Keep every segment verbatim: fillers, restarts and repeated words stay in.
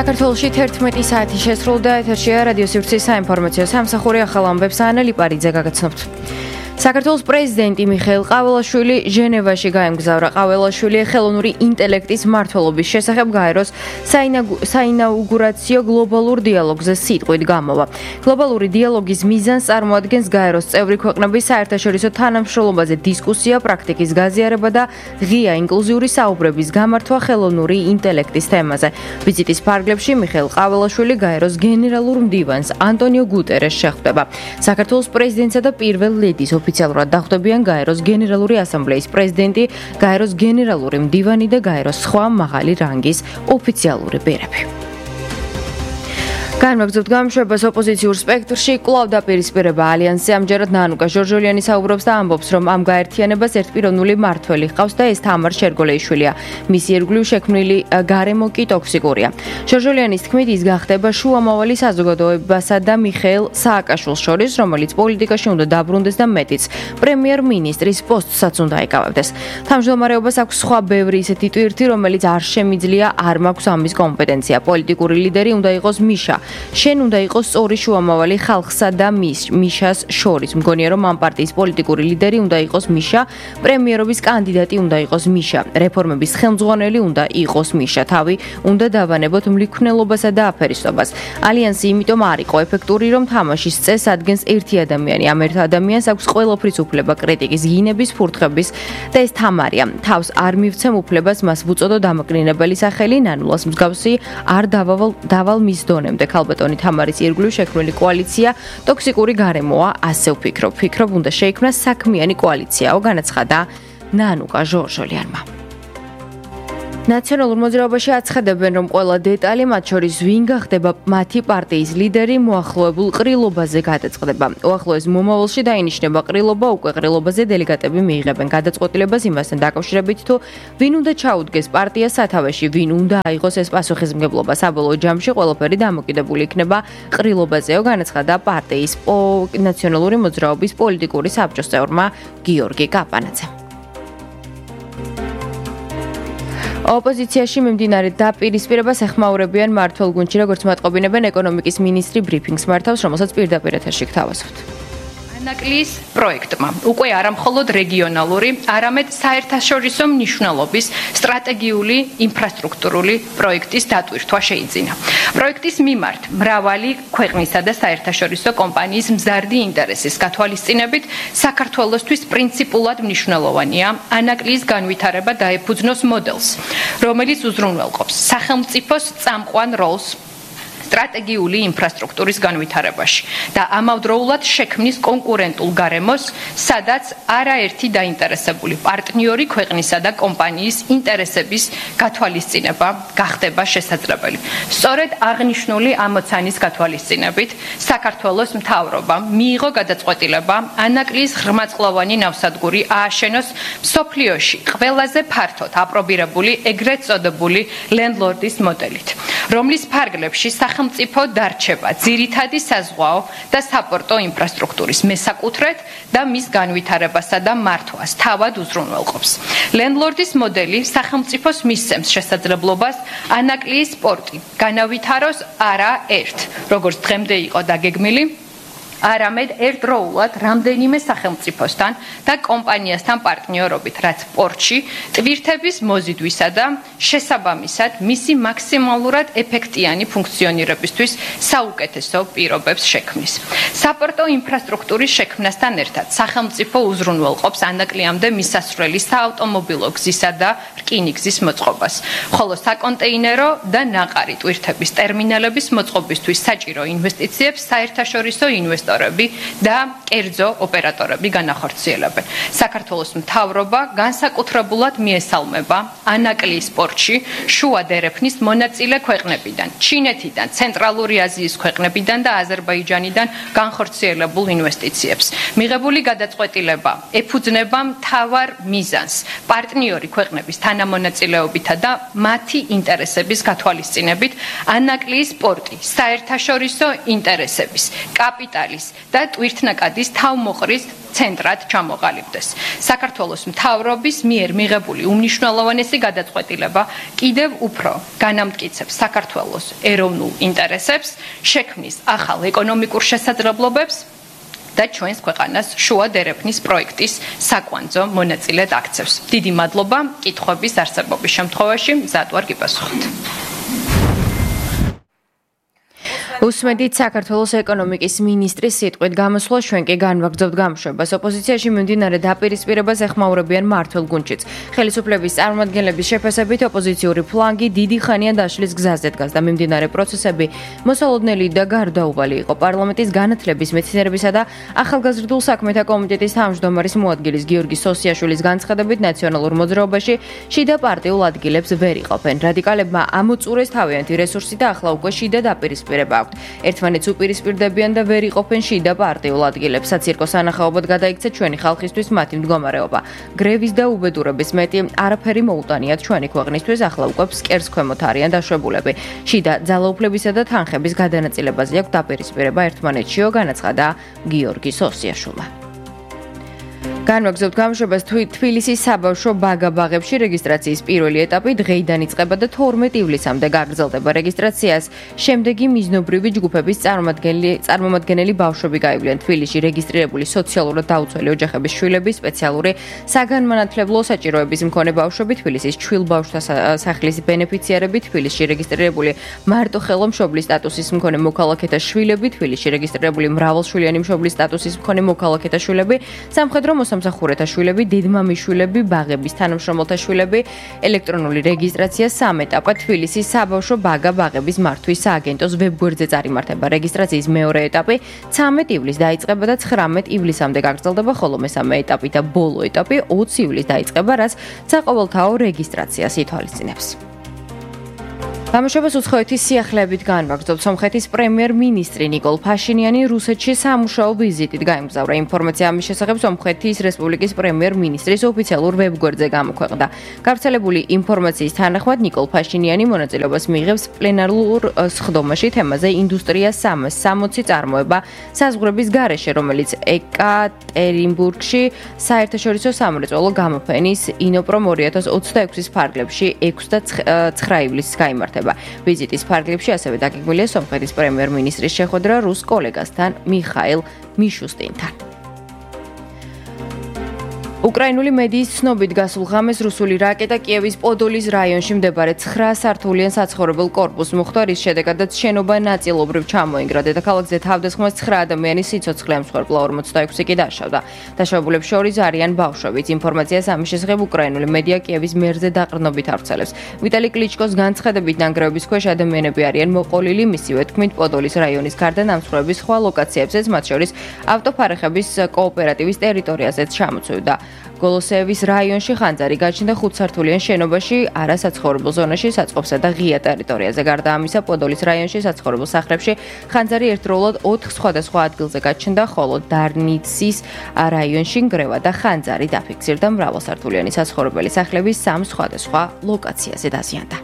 საქართველოში თერთმეტი საათი შესრულდა, ეთერშია რადიო სივრცის საინფორმაციო სამსახური, ახალ ამბებს ანა ლიპარიძე გაგაცნობთ. საქართველოს პრეზიდენტი მიხეილ ყაველაშვილი ჟენევაში გაემგზავრა. ყაველაშვილი ხელოვნური ინტელექტის მმართველობის შესახებ გაეროს საინაუგურაციო გლობალურ დიალოგზე სიტყვით გამოვა. გლობალური დიალოგის მიზანს წარმოადგენს გაეროს წევრი ქვეყნების საერთაშორისო თანამშრომლობაზე დისკუსია, პრაქტიკის გაზიარება და ღია ინკლუზიური საუბრების გამართვა ხელოვნური ინტელექტის თემაზე. ვიზიტის ფარგლებში მიხეილ ყაველაშვილი გაეროს გენერალურ მდივანს ანტონიო გუტერეს შეხვდება. საქართველოს პრეზიდენტსა და პირველ ლედის ოფიციალურად დახვდებიან გაეროს გენერალური ასამბლეის პრეზიდენტი, გაეროს გენერალური მდივანი და გაეროს სხვა მაღალი რანგის ოფიციალური ბერები. განვაგრძობთ გამოშვებას ოპოზიციურ სპექტრში, კვლავ დაპირისპირება ალიანსზე. ამჯერად ნანუკა ჟორჟოლიანი საუბრობს და ამბობს, რომ ამ გაერთიანებას ერთპიროვნული მმართველი ჰყავს და ეს თამარ შერგოლეიშვილია. მისი ირგვლივ შექმნილი გარემო კი ტოქსიკურია. ჟორჟოლიანის თქმით, ის გახდება შუამავალი საზოგადოებასა და მიხეილ სააკაშვილს შორის, რომელიც პოლიტიკაში უნდა დაბრუნდეს და მეტიც პრემიერ-მინისტრის პოსტსაც უნდა ეკავებდეს. თავმჯდომარეობას აქვს სხვა ბევრი ისეთი ტვირთი, რომელიც არ შემიძლია, არ მაქვს ამის კომპეტენცია. პოლიტიკური ლიდერი უნდა იყოს მიშა. შენ უნდა იყოს სწორი შუამავალი ხალხსა და მიშას შორის. მგონია, რომ ამ პარტიის პოლიტიკური ლიდერი უნდა იყოს მიშა, პრემიერობის კანდიდატი უნდა იყოს მიშა, რეფორმების ხელმძღვანელი უნდა იყოს მიშა. თავი უნდა დავანებოთ მლიქვნელობასა და აფერისტობას. ალიანსი იმიტომ არ იყო ეფექტური, რომ თამაშის წესს ადგენს ერთი ადამიანი. ამ ერთ ადამიანს აქვს ყველაფრის უფლება, კრიტიკის, გინების, ფურთხების და ეს თამარია. თავს არ მივცემ უფლებას, მას ვუწოდო დამაკნინებელი სახელი, ნანულას მსგავსი არ დავავალ დავალ მის დონემდე. ქალბატონი თამარის ირგვლივ შექმნილი კოალიცია ტოქსიკური გარემოა, ასე ვფიქრობ. ვფიქრობ, უნდა შეიქმნას საქმიანი კოალიციაო, განაცხადა ნანუკა ჟორჟოლიანმა. ნაციონალურ მოძრაობაში აცხადებენ, რომ ყველა დეტალი, მათ შორის ვინ გახდება მათი პარტიის ლიდერი, მოახლოებულ ყრილობაზე გადაწყდება. უახლოეს მომავალში დაინიშნება ყრილობა, უკვე ყრილობაზე დელეგატები მიიღებენ გადაწყვეტილებას იმასთან დაკავშირებით, თუ ვინ უნდა ჩაუდგეს პარტიას სათავეში, ვინ უნდა აიღოს ეს პასუხისმგებლობა. საბოლოო ჯამში ყველაფერი დამოკიდებული იქნება ყრილობაზეო, განაცხადა პარტიის ნაციონალური მოძრაობის პოლიტიკური საბჭოს წევრმა გიორგი კაპანაძემ. ოპოზიციაში მიმდინარე დაპირისპირებას ეხმაურებიან მმართველ გუნდში, როგორც მოატყობინებენ ეკონომიკის მინისტრი ბრიფინგს მართავს, რომელსაც პირდაპირ ეთერში გთავაზობთ. ანაკლის პროექტმა უკვე არა მხოლოდ რეგიონალური, არამედ საერთაშორისო მნიშვნელობის სტრატეგიული ინფრასტრუქტურული პროექტის დატვირთვა შეიძინა. პროექტის მიმართ მრავალი ქვეყნისა და საერთაშორისო კომპანიის მზარდი ინტერესის გათვალისწინებით საქართველოსთვის პრინციპულად მნიშვნელოვანია ანაკლის განვითარება დაეფუძნოს მოდელს, რომელიც უზრუნველყოფს სახელმწიფოს წამყვან როლს სტრატეგიული ინფრასტრუქტურის განვითარებაში და ამავდროულად შექმნის კონკურენტულ გარემოს, სადაც არაერთი დაინტერესებული პარტნიორი ქვეყნისა და კომპანიის ინტერესების გათვალისწინება გახდება შესაძლებელი. სწორედ აღნიშნული ამოცანის გათვალისწინებით საქართველოს მთავრობამ მიიღო გადაწყვეტილება ანაკლის ღრმაწყლოვანი ნავსადგური ააშენოს მსოფლიოში ყველაზე ფართოდ აპრობირებული ეგრეთ წოდებული ლენდლორდის მოდელით, რომლის ფარგლებში სახელმწიფო დარჩება ძირითადი საზღვაო და საპორტო ინფრასტრუქტურის მესაკუთრედ და მის განვითარებასა და მართვას თავად უზრუნველყოფს. ლენდლორდის მოდელი სახელმწიფოს მისცემს შესაძლებლობას ანაკლის პორტი განავითაროს არა ერთ, როგორც დღემდე იყო დაგეგმილი, არამედ ერთდროულად რამდენიმე სახელმწიფოსთან და კომპანიასთან პარტნიორობით, რაც პორტში ტვირთების მოზიდვისა და შესაბამისად მისი მაქსიმალურად ეფექტიანი ფუნქციონირებისთვის საუკეთესო პირობებს შექმნის. საპორტო ინფრასტრუქტურის შექმნასთან ერთად სახელმწიფო უზრუნველყოფს ანაკლიამდე მისასვლელი საავტომობილო გზისა და რკინიგზის მოწყობას, ხოლო საკონტეინერო და ნაყარი ტვირთების ტერმინალების მოწყობისთვის საჭირო ინვესტიციებს საერთაშორისო ინვესტორები და კერძო ოპერატორები განახორციელებენ. საქართველოს მთავრობა განსაკუთრებულად მიესალმება ანაკლის პორტში შუა დერეფნის მონაწილე ქვეყნებიდან, ჩინეთიდან, ცენტრალური აზიის ქვეყნებიდან და აზერბაიჯანიდან განხორციელებულ ინვესტიციებს. მიღებული გადაწყვეტილება ეფუძნება მთავარ მიზანს პარტნიორი ქვეყნების თანამონაწილეობითა და მათი ინტერესების გათვალისწინებით ანაკლის პორტი საერთაშორისო ინტერესების, კაპიტალის არის და ტვირთნაკადის თავმოყრის ცენტრად ჩამოყალიბდეს. საქართველოს მთავრობის მიერ მიღებული უმნიშვნელოვანესი გადაწყვეტილება კიდევ უფრო განამტკიცებს საქართველოს ეროვნულ ინტერესებს, შექმნის ახალ ეკონომიკურ შესაძლებლობებს და ჩვენს ქვეყანას შუა დერეფნის პროექტის საკვანძო მონაწილედ აქცევს. დიდი მადლობა კითხვების არსებობის შემთხვევაში მზად ვარ გიპასუხოთ. უსმედით საქართველოს ეკონომიკის მინისტრის სიტყვით გამოსვლა ჩვენ კი განვაგრძობთ გამოშვებას. ოპოზიციაში მიმდინარე დაპირისპირებას ეხმაურებიან მმართველ გუნდშიც. ხელისუფლების წარმომადგენლების შეფასებით ოპოზიციური ფლანგი დიდი ხანია დაშლის გზაზე დგას და მიმდინარე პროცესები მოსალოდნელი და გარდაუვალი იყო. პარლამენტის განათლების, მეცნიერებისა და ახალგაზრდულ საქმეთა კომიტეტის თავმჯდომარის მოადგილის გიორგი სოსიაშვილის განცხადებით ნაციონალურ მოძრაობაში შიდა პარტიულ ადგილებს ვერ იყოფენ. რადიკალებმა ამოწურეს თავიანთი რესურსი და ახლა უკვე შიდა დაპირისპირება აქვს. ერთმანეთს უპირისპირდებიან და ვერ იყოფენ შიდა პარტიულ ადგილებს. საცირკო სანახაობად გადაიქცა ჩვენი ხალხისთვის მათი მდგომარეობა. გრევის და უბედურების მეტი არაფერი მოუტანიათ ჩვენი ქვეყნისთვის, ახლა უკვე ფსკერს ქვემოთ არიან დაშვებულები. შიდა ძალაუფლებისა და თანხების გადანაწილებაზე აქვს დაპირისპირება ერთმანეთშიო, განაცხადა გიორგი სოსიაშვილმა. განვაგრძობთ გამოშვებას. თბილისის საბავშვო ბაგა-ბაღებში რეგისტრაციის პირველი ეტაპი დღეიდან იწყება და თორმეტ ივლისამდე გაგრძელდება. რეგისტრაციას შემდეგი მიზნობრივი ჯგუფების წარმომადგენელი ბავშვები გაივლიან. თბილისში რეგისტრირებული სოციალურად დაუცველი ოჯახების შვილები, სპეციალური საგანმანათლებლო საჭიროების მქონე ბავშვები, თბილისის ჩვილ ბავშვთა სახლის ბენეფიციარები, თბილისში რეგისტრირებული მარტოხელო მშობლის სტატუსის მქონე მოქალაქეთა შვილები, თბილისში რეგისტრირებული მრავალშვილიანი მშობლის სტატუსის მქონე მოქალაქეთა შვილები, სამხედრო მოსამსახურეთა შვილები, დედმამიშვილები, ბაღების თანამშრომელთა შვილები, ელექტრონული რეგისტრაცია სამ ეტაპად თბილისის საბავშვო ბაგა-ბაღების მართვის სააგენტოს ვებგვერდზე წარიმართება. რეგისტრაციის მეორე ეტაპი ცამეტ ივლისს დაიწყება და ცხრამეტ ივლისამდე გაგრძელდება, ხოლო მესამე ეტაპი და ბოლო ეტაპი ოცი ივლისს დაიწყება, რაც საყოველთაო რეგისტრაციას ითვალისწინებს. გამოშვებას უცხოეთის სიახლეებით განვაგრძობთ. სომხეთის პრემიერ-მინისტრი ნიკოლ ფაშინიანი რუსეთში სამუშაო ვიზიტით გაემგზავრა. ინფორმაცია ამის შესახებ სომხეთის რესპუბლიკის პრემიერ-მინისტრის ოფიციალურ ვებგვერდზე გამოქვეყნდა. გავრცელებული ინფორმაციის თანახმად ნიკოლ ფაშინიანი მონაწილეობას მიიღებს პლენარულ სხდომაში თემაზე ინდუსტრია სამას სამოცი წარმოება საზღვრების გარეშე, რომელიც ეკატერინბურგში საერთაშორისო სამრეწველო გამოფენის ინოპრომ ორი ათას ოცდაექვსის ფარგლებში ექვსი და ცხრა ივლისს გაიმართა. ვიზიტის ფარგლებში ასევე დაგეგმილია სომხეთის პრემიერ-მინისტრის შეხვედრა რუს კოლეგასთან მიხაილ მიშუსტინთან. უკრაინული მედიის ცნობით გასულ ღამეს რუსული რაკეტა კიევის პოდოლის რაიონში მდებარე ცხრა სართულიან საცხოვრებელ კორპუსს მოხვდა, რის შედეგადაც შენობა ნაწილობრივ ჩამოინგრა. დედაქალაქზე თავდასხმას ცხრა ადამიანის სიცოცხლე ემსხვერპლა, ორმოცდაექვსი კი დაშავდა. დაშავებულებს შორის არიან ბავშვებიც. ინფორმაციას ამის შესახებ უკრაინული მედია კიევის მერზე დაყრდნობით ავრცელებს. ვიტალი კლიჩკოს განცხადებით ნანგრევების ქვეშ ადამიანები არიან მოყოლილი, მისივე თქმით პოდოლის რაიონის გარდა ნამსხვრევების სხვა ლოკაციებზეც, მათ შორის ავტოფარეხების კოოპერატივის ტერიტორიაზეც ჩამოწვევდა. გოლოსეევის რაიონში ხანძარი გაჩნდა ხუთსართულიან შენობაში, არასაცხოვრებელ ზონაში, საწყობსა და ღია ტერიტორიაზე. გარდა ამისა, პოდოლის რაიონში საცხოვრებელ სახლებში ხანძარი ერთდროულად ოთხ სხვადასხვა ადგილზე გაჩნდა, ხოლო დარნიცის რაიონში ნგრევა და ხანძარი დაფიქსირდა. მრავალსართულიანი საცხოვრებელი სახლები სამ სხვადასხვა ლოკაციაზე დაზიანდა.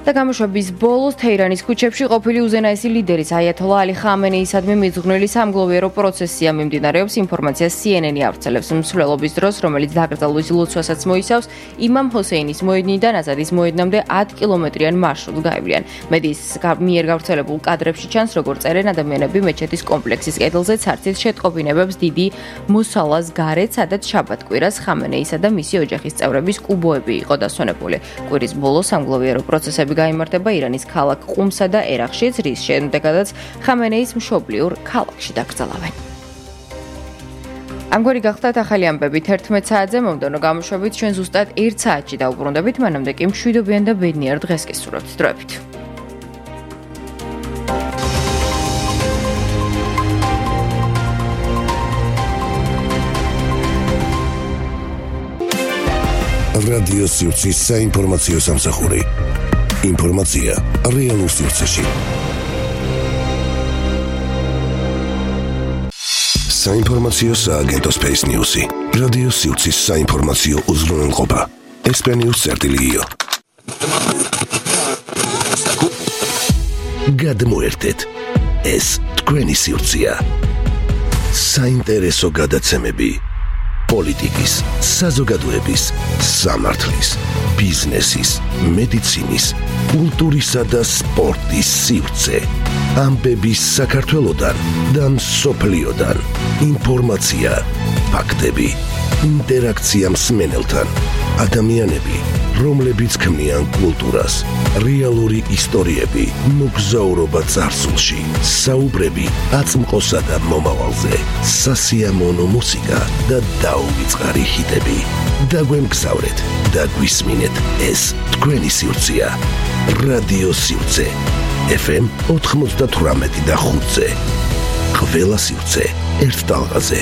და გამოშვების ბოლოს თეირანის ქუჩებში ყოფილი უზენაესი ლიდერის აიათოლა ალი ხამენეისადმი მიძღვნილი სამგლოვიარო პროცესია მიმდინარეობს. ინფორმაცია სი ენ ენი ავრცელებს მსვლელობის დროს, რომელიც დაკრძალვის ლოცვასაც მოიცავს, იმამ ჰოსეინის მოედნიდან აზადის მოედნამდე ათი კილომეტრიან მარშრუტს გაივლიან. მედიის მიერ გავრცელებულ კადრებში ჩანს, როგორ წერენ ადამიანები მეჩეთის კომპლექსის კედელზე ცარცით შეტყობინებებს დიდი მოსალას გარეთ, სადაც შაბათ-კვირას ხამენეისა და მისი ოჯახის წევრების კუბოები იყო დასვენებული. კვირის ბოლოს სამგლოვიარო პროცესები გაიმართება ირანის ქალაქ ყუმსა და ერაყშიც, რის შემდეგაც ხამენეის მშობლიურ ქალაქში დაკრძალავენ. ამგვარი გახდათ ახალი ამბები თერთმეტ საათზე. მომდევნო გამოშვებით ჩვენ ზუსტად ერთ საათში დავუბრუნდებით, მანამდე კი მშვიდობიან და ბედნიერ დღეს გისურვებთ. დროებით. რადიო სივრცის საინფორმაციო სამსახური. ინფორმაცია რეალურ სივრცეში. საინფორმაციო სააგენტო Space News-ი. რადიო სივრცის საინფორმაციო უზრუნველყოფა. ესპანიურ წერტილიო. გადმოერთეთ. ეს თქვენი სივრცეა. საინტერესო გადაცემები პოლიტიკის, საზოგადოების, სამართლის, ბიზნესის, მედიცინის, კულტურისა და სპორტის სივრცე. ამბები საქართველოდან და მსოფლიოდან. ინფორმაცია, ფაქტები, ინტერაქცია მსმენელთან. ადამიანები, რომლებიც ქმნიან კულტურას, რეალური ისტორიები, მოგზაურობა წარსულში, საუბრები აწმყოსა და მომავალზე, სასიამოვნო მუსიკა და დაუვიწყარი ჰიტები. დაგვემგზავრეთ და გვისმინეთ, ეს თქვენი სივრცეა. რადიო სივრცე ეფ ემ ოთხმოცდათვრამეტი და ხუთზე. ყველა სივრცე ერთ ტალღაზე.